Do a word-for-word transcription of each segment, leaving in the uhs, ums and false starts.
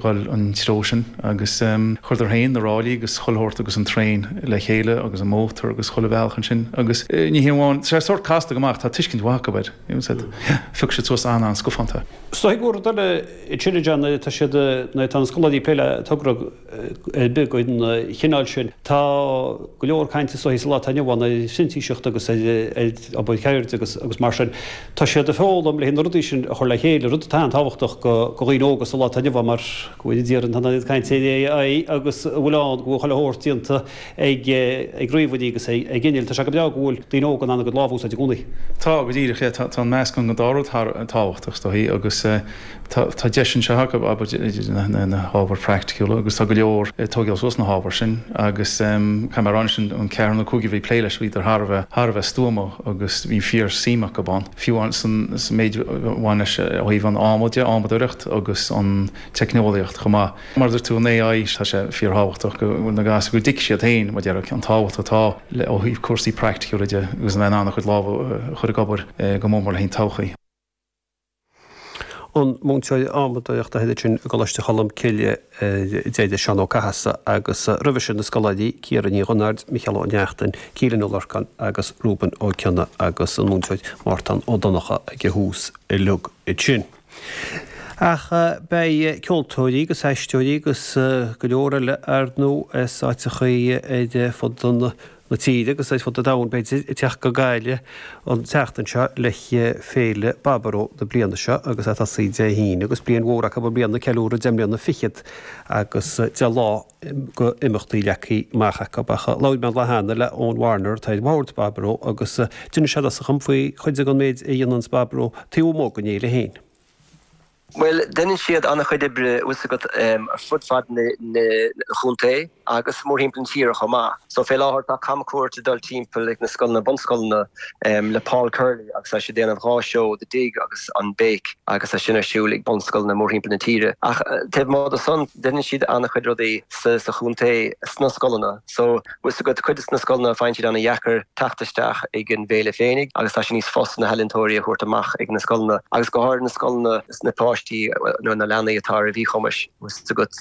Dhul an treo sin agus chuireadar féin na ráillí agus chuile shórt agus an traein le chéile agus an mótar agus chuile bhealach ansin agus ní hé amháin, tá sé sórt casta go maith, tá tuiscint mhaith acu air, phioc siad suas an-an-scafánta. Is dóigh gur rud eile ansin a John, tá siad, nuair atá na scoláirí ag plé le togra ar bith den chineál sin, tá go leor cainte is dóigh sa lá atá inniu ann ar phrintíseacht agus ar obair cheirde agus agus mar sin. Tá siad ag foghlaim le na rudaí sin a chur le chéile, rud atá an-tábhachtach do dhaoine óga sa lá atá inniu ann mar go bhfuil idir an ag caint ar AI agus a bhfuil ann go bhfuil chuile shórt déanta ag ag ríomhairí agus ag innill. Tá sé go breá go bhfuil daoine óga in ann a gcuid lámh a úsáid i gcónaí. Tá, go díreach, yeah, tá an meascán den dá rud thar tábhachtach is dóichí agus tá tá deis anseo acu abair na hábhair praiticiúla agus tá go leor ag tógáil suas na hábhair sin agus caithfidh mé a rá anois an ceathrar nó cúigear a bhí ag plé leis bhíodar thar a bheith thar a bheith stuama agus bhí fíor suim acu ann fiú san méid a bhain leis ó thaobh an ama de, amadóireacht agus an teicneolaíocht chomh maith. Mar a dúirt tú an AI tá sé fíorthábhachtach go bhfuil na gasúir go dtuigfidh siad féin mar a déarfá an tábhacht atá le ó thaobh cúrsaí praiticiúla de agus a bheith in ann a chuid lámha a chur ag obair go mór mór le haghaidh an todhchaí. An múinteoir adhmadóireachta ansin i gColáiste Cholm Cille Deire Seán Ó Cathasaigh agus roimhe sin na scoláirí Ciara Ní Dhonnaird, Micheál Ó Neachtain, Keelan Ó Lorcáin agus Reuben Ó Cionnaith agus an múinteoir Mártan Ó Donnchadha ag a thús uilig ansin. Ach beidh ceoltóirí agus aisteoirí agus go leor eile ar ndóigh as áiteachaí ar fud an na tíre agus ar fud an domhain b'fhéidir ag teacht go Gaillimh an tseachtain seo le Féile Baboró na bliana seo agus é ag tosaí Dé hAoine agus bliain mhór acu i mbliana ceiliúradh deich mbliana fichead agus deich lá go imeachtaí leagtha amach acu. Ach labhair mé an lá cheana le Eoin Warner atá ar bhord Baboró agus d'inis sé domhsa faoi chuid den méid a dhéananns Baboró taobh amuigh den fhéile féin. Bhuel, deineann siad an-chuid oibre, bhfuil 's agat, ar fud fad na chontae agus mórthimpeall na tíre chomh maith. So fé láthair tá camchuairt ag dul timpeall ag na scoileanna, bunscoileanna le Paul Curley agus tá sé ag déanamh dhá seó, The Dig agus an Béic agus tá sin ar siúl ag bunscoileanna mórthimpeall na tíre. Ach taobh amuigh de san, deineann siad an-chuid rudaí sa chontae sna scoileanna. So bhfuil 's agat, cuid de na scoileanna faigheann siad an-dheacair teacht isteach ag an bhféile féinig agus tá sé níos fusa na healaíontóirí a thabhairt amach ag na scoileanna agus go háirithe na scoileanna na páistí nó na leanaí atá ar mhíchumais bhfuil 's agat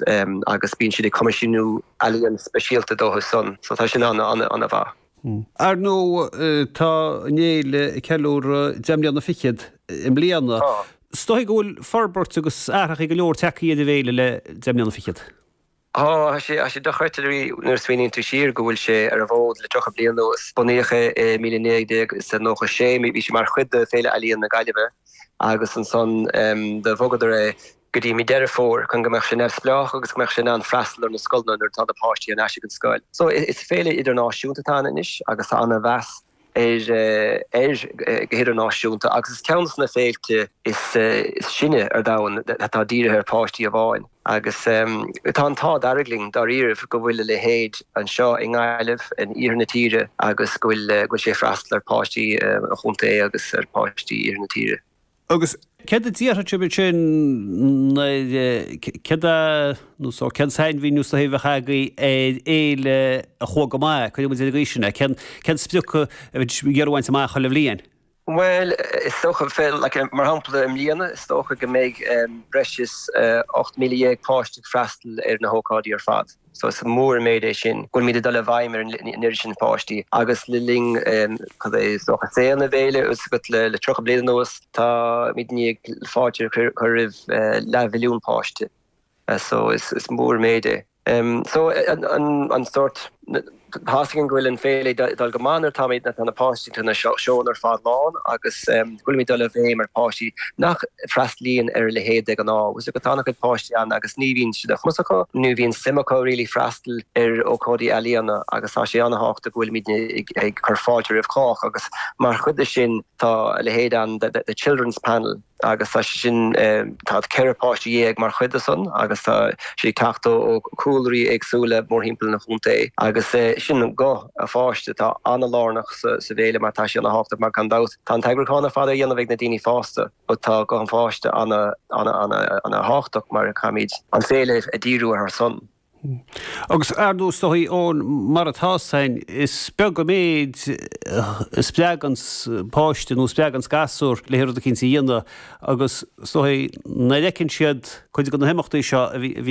agus bíonn siad ag coimisiúnú ealaíon speisialta dóibh san so tá sin an-an-an-mhaith. Ar ndóigh tá an fhéile ag ceiliúradh deich mbliana fichead i mbliana. Tá. Is dóigh go bhfuil forbairt agus athrachaí go leor tagtha ar an bhféile le deich mbliana fichead. Tá, tá sé, tá sé dochreidte nuair a smaoiníonn tú siar go bhfuil sé ar an bhfód le tríocha bliain anuas. Bunaíodh é i míle naoi déag is a nócha sé, bhí sé mar chuid de Féile Ealaíon na Gaillimhe agus ansan do bhogadar é go dtí mí Deireadh Fómhair chun go mbeadh sé neamhspleách agus go mbeadh sé in ann freastal ar na scoileanna nuair atá na páistí ar ais ag an scoil. So is féile idirnáisiúnta atá ann anois agus tá ana-mheas air air go hidirnáisiúnta agus is ceann de na féilte is sine ar domhan atá dírithe ar pháistí amháin. Agus tá an t-ádh dearg linn dáiríribh go bhfuil a leithéid anseo i nGaillimh, in iarthar na tíre agus go bhfuil go bhfuil sé ag freastal ar pháistí an chontae agus ar pháistí iarthar na tíre. Agus céard a déarfadh sibh ansin nuair, céard é, nó so, cén sainmhíniú is dóichí a bheadh agaibh ar fhéile a chuaigh go maith, cuirfidh muid ar an gcaoi sin é, cén, cén sprioc a bheadh sibh ag iarraidh a bhaint amach chuile bhliain? Bhuel, is dócha, like, mar shampla i mbliana, is dócha go mbeidh breis is ocht míle dhéag páiste ag freastal ar na hócáidí ar fad. So is mór an méid é sin go bhfuilimid ag dul i bhfeidhm ar an oiread sin páistí agus le linn cad é is dócha saol na féile is agat le le tríocha bliain anuas táimid i ndiaidh fáilte a chur roimh leathmhilliún páiste. So is is mór an méid é. So an an an sórt tá's againn go bhfuil an féile ag dul go maith nuair atáimid nuair atá na páistí tá na seónna ar fad lán agus go bhfuilimid ag dul i bhfeidhm ar pháistí nach freastalaíonn ar a leithéid de ghnáth. Bhfuil 's agat tá an-chuid páistí ann agus ní bhíonn sé de chumas acu, ní bhíonn suim acu really freastal ar ócáidí ealaíona agus tá sé an-thábhachtach go bhfuilimid ag cur fáilte roimh chách agus mar chuid de sin tá a leithéid ann the Children's Panel. agus tá sé sin, tá ceithre páiste dhéag mar chuid de san agus tá siad ag teacht ó chúlraí éagsúla mórthimpeall an chontae agus sin guth an pháiste atá an-lárnach sa bhféile mar tá sé ana-thábhachtach mar gan dabht tá an t-eagrúchán ar fad á dhéanamh ag na daoine fásta but tá guth an pháiste ana-ana-ana-thábhachtach mar caithfimid an féile a dhíriú ar son. Agus ar ndóigh is dóigh ón mar atá san is beag an méid a spreagann páiste nó spreagann gasúr le rud eicínt a dhéanamh agus is dóigh nuair a fheiceann siad cuid de na himeachtaí seo a bhíonn